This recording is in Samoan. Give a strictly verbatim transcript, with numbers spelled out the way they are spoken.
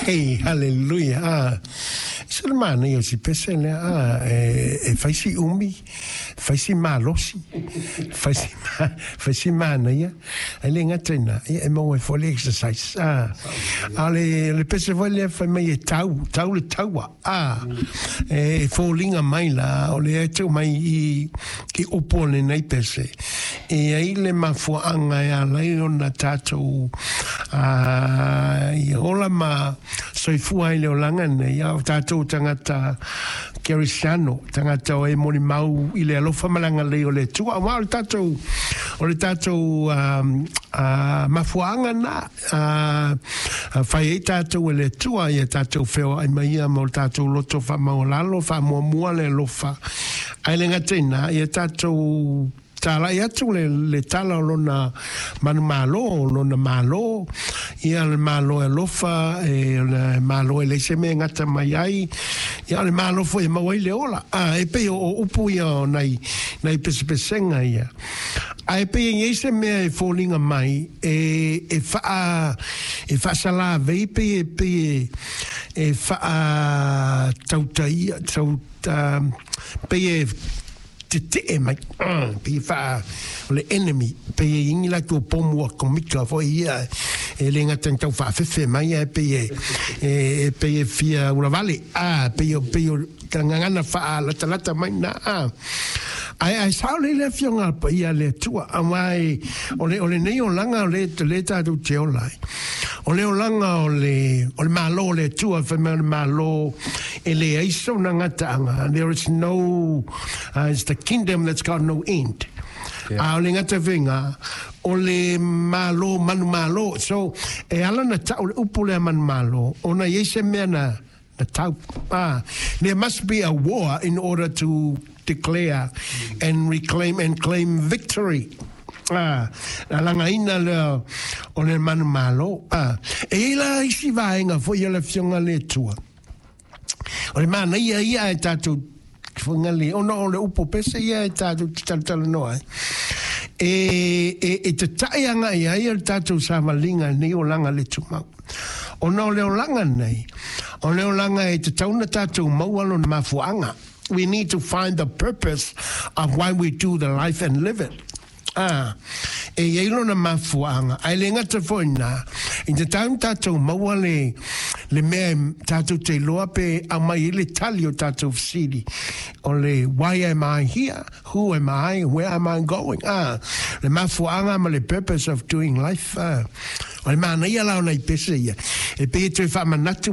Hey, hallelujah. Ah, se le manaia o si pese lea, ah, e, e fai si umi, fai si malosi, fai si, fai si manaia, e le gata ina, ia, e maua ai foi le exercise. Ah, a le, le pese foi lea fai mai e tau, tau le taua. Ah, e foliga mai la, o le e tau mai i, i upu o lenei pese. E ai le mafuaanga e ala ai ona tatou ah, i ola ma soifua ai le olaga nei, a o tatou tagata kerisiano, tagata o e molimau i le alofa ma le agalelei o le Atua. Aua o le tatou, o le tatou um, uh, mafuaaga na uh, fai ai tatou e le Atua ia tatou feoai mai ia ma o le tatou loto faamaualalo, faamuamua le alofa. Ae le gata i lena, ia tatou talai atu le, le tala o lona manumalo, o lona malo, ia le malo e alofa, e, o le malo e leai se mea e gata mai ai, ia o le malo foi e maua ai le ola. Ah, e pei o, o upu ia o nai, nai pesepesega ia. Ae pei e i ai se mea e foliga mai, e, e faa, e faasalavei pei e, pei e, e faatautaia, tau, uh, pei e tetee mai, uh, pei e faa, o le enemy, pei e i ai ni latou pomu atomika foi ia, e le gata ina tau faafefe mai, ae pei e, e, e pei e fia ulavale, ah, pei o, pei o gagana faalatalata mai na, ah. Ae, ae sao lelei le afioga a le paia a le Atua, aua e, o le, o lenei olaga o le, le tatou te ola ai. O le olaga o le, o le malo o le Atua, fai mai o le malo e leai sona gataaga. There is no, uh, it's the kingdom that's got no end. Yeah. A o le gata faiga, o le malo manumalo. So, e ala na tau le upu lea manumalo, ona i ai se mea na, na tau. Ah, there must be a war in order to declare and reclaim and claim victory. Ah, na lagaina lea o le manumalo. Ah, e i ai la isi vaega foi o le afioga a le Atua. O le manaia ia e tatou fagale, ona o le upu pese ia e tatou te talatalanoa ai. E, e, e tatai agai ai o le tatou savaliga i lenei olaga le tumau. Ona o le olaga nei, o le olaga e tatau ona tatou maua lona mafuaaga. We need to find the purpose of why we do the life and live it. Ah, e i ai lona mafuaaga, ae le gata foi i lena, i tatau ona tatou maua le, le mea e tatou te iloa pe aumai ai le tali o tatou fesili, o le why am I here, who am I, where am I going? Ah, le mafuaaga ma le purpose of doing life. Ah, o le manaia la o nai pese ia, e pei e toe faamanatu.